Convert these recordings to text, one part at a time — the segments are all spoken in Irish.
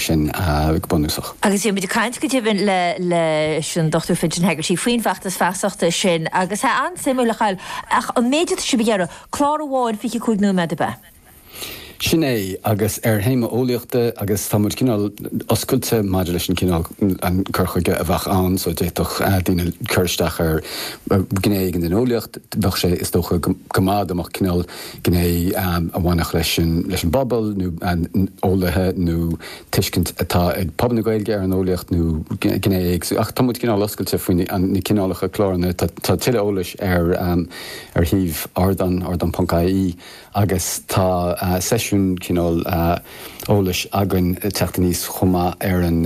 sin go bunúsach. Agus bhí muid ag caint go deimhin le leis an Dr Fintan Hegarty faoin bhfeachtas feasachta sin agus tá an-suimiúil a Chathail ach an méid atá sibh ag iarraidh, clár amháin 25 nóiméad ab ea? Sin é, agus ar théama eolaíochta, agus tá muid cineál oscailte maidir leis an cineál, an cur chuige a bheadh ann, so d'fhéadfadh daoine cur isteach ar ghné éigin den eolaíocht, bheadh sé is dócha go maith dá mbeadh cineál gné a bhainfeadh leis an, leis an bpobal nó eolaithe nó tuiscint atá ag pobal na Gaeilge ar an eolaíocht nó gné éagsúil, ach tá muid cineál oscailte faoi na cineálacha cláranna, tá tuilleadh eolais ar ar shuíomh Ardán, ardán.ie. Agus tá seisiún cineál eolais againn ag teacht aníos chomh maith ar an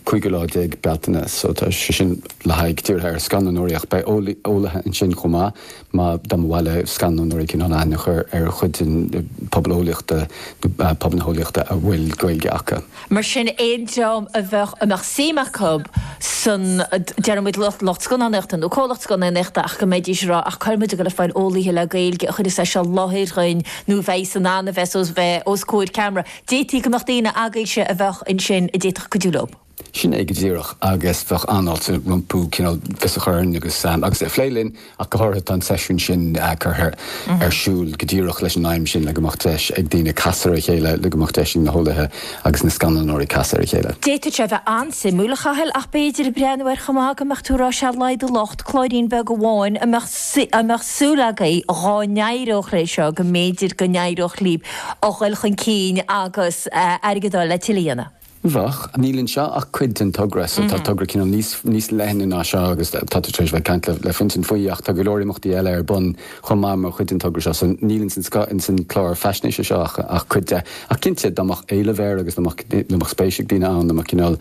cúigiú lá déag Bealtaine. So tá sé sin le haghaidh dírithe ar scannánóirí ach beidh eolaithe ansin chomh maith má dá mba mhaith le scannánóirí cineál aithne a chur ar chuid den pobal eolaíochta nó pobal na heolaíochta a bhfuil Gaeilge acu. Mar sin, aon dream a bheadh, a mbeadh suim acu san, déarfaidh muid lucht scannánaíochta nó comhlacht scannánaíochta ach go mbeidís ag rá ach cá bhfuil muid ag dul ag fáil eolaithe le Gaeilge a chuirfeas é seo i láthair dhuinn nó a bheidh in ann a bheith os, bheith os comhair ceamara. D'fhéadfaí go mbeadh daoine agaibhse a bheadh ansin a d'fhéadfadh cuidiú leo. Sin é go díreach agus bheadh an-fháilte rompu cineál fios a chur orainn agus agus a phlé linn ach go háirithe tá an seisiún sin curtha ar siúl go díreach leis an aidhm sin le go mbeadh deis ag daoine casadh ar a chéile, le go mbeadh deis ag na heolaithe agus na scannánóirí casadh ar a chéile. D'fhéadfadh sé a bheith an-suimiúil, a Chathail, ach b'fhéidir ag breathnú air chomh maith go mbeadh tú ag rá sé laghad a locht, cláirín beag amháin a mbeadh a mbeadh súil agaibh dhá n-éireodh leis seo go mb'fhéidir go n-éireodh libh a dhul chun cinn agus airgead a fháil le tuilleadh a dhéanamh. Bheadh. Níl anseo ach cuid den togra, so tá togra cineál níos, níos leithne ná seo agus tá tú tar éis bheith ag caint le, le Fintan faoi ach tá go leor imeachtaí eile ar bun chomh maith mar chuid den togra seo, so níl ins an, ins an clár faisnéise seo ach, ach cuid de. Ach cinnte, dá mbeadh éileamh air agus dá mbeadh, dá mbeadh spéis ag daoine ann, dá mbeadh cineál,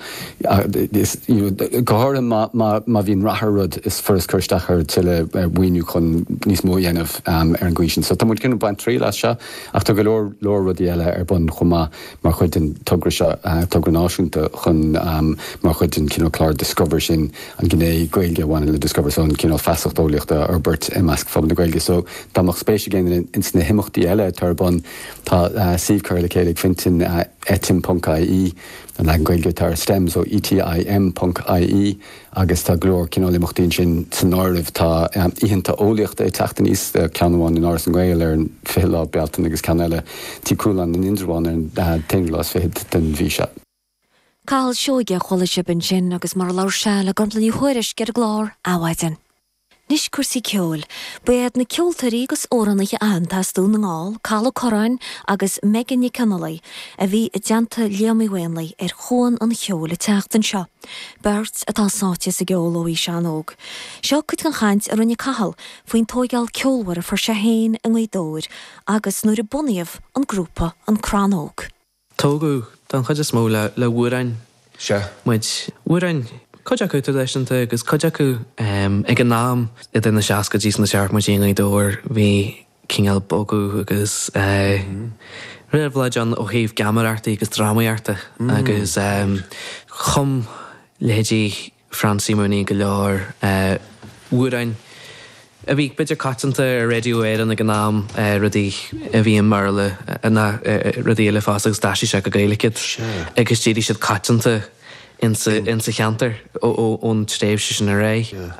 is, you know, go háirithe má, má, má bhíonn rath ar rud, is furast cur isteach ar tuilleadh maoiniú chun níos mó a dhéanamh ar an gcaoi sin. So tá muid cineál ag baint triail as seo ach tá go leor, leor rudaí eile ar bun chomh maith. mar chuid den togra seo, togra náisiúnta chun, mar chuid den chineál clár Discover sin, an ghné Gaeilge a bhaineann le Discover, so an cineál feasacht eolaíochta a fhorbairt i measc phobal na Gaeilge. So dá mbeadh spéis ag aon duine ins na himeachtaí eile atá ar bun, tá suíomh curtha le chéile ag Fintan, etim ponc ie, an leagan Gaeilge atá ar STEM, so ETIM ponc ie. Agus tá go leor cineál imeachtaí ansin san áireamh. Tá oícheanta eolaíochta ag teacht aníos, ceann amháin in Áras na nGael ar an 20 lá Bealtaine agus ceann eile Tigh Chualáin in Indreabhán ar an t-aonú lá is fichead den mhí seo. Cathal Seoige a chuala sibh ansin agus mar a labhair sé le Gormfhlaith Ní Thuairisg ar an gclár Adhmhaidin. Anois cúrsaí ceoil. Ba iad na ceoltóirí agus amhránaithe aitheanta as Dún na nGall, Cathal Ó Curráin agus Megan Nic Fhionnghaile, a bhí i dteannta Liam Uí Mhaonlaí ar Chuan an Cheoil an tseachtain seo. Beirt atá sáite sa gceol ó aois an-óg. Seo cuid den chaint a rinne Cathal faoin tóigeáil ceolmhar a fuair sé féin i nGaoth Dobhair agus nuair a bunaíodh an grúpa An Crann Óg. Tógadh, don chuid is mó, le hamhráin muid. Amhráin, cuid acu traidisiúnta agus cuid acu ag an am, idir na seascaidí is na seachtóidí i nGaoth Dobhair, bhí cineál bogadh agus réabhlóid ann ó thaobh geamaireachtaí agus drámaíochta agus chum leithéidí Francie Mooney go leor amhráin a bhí b'fhéidir coitianta ar Radio Éireann ag an am, rudaí a bhí i mBéarla ná rudaí eile fosta agus d'aistrigh sé go Gaeilge iad agus d'éirigh siad coitianta insa cheantar ón tréimhse sin ar aghaidh.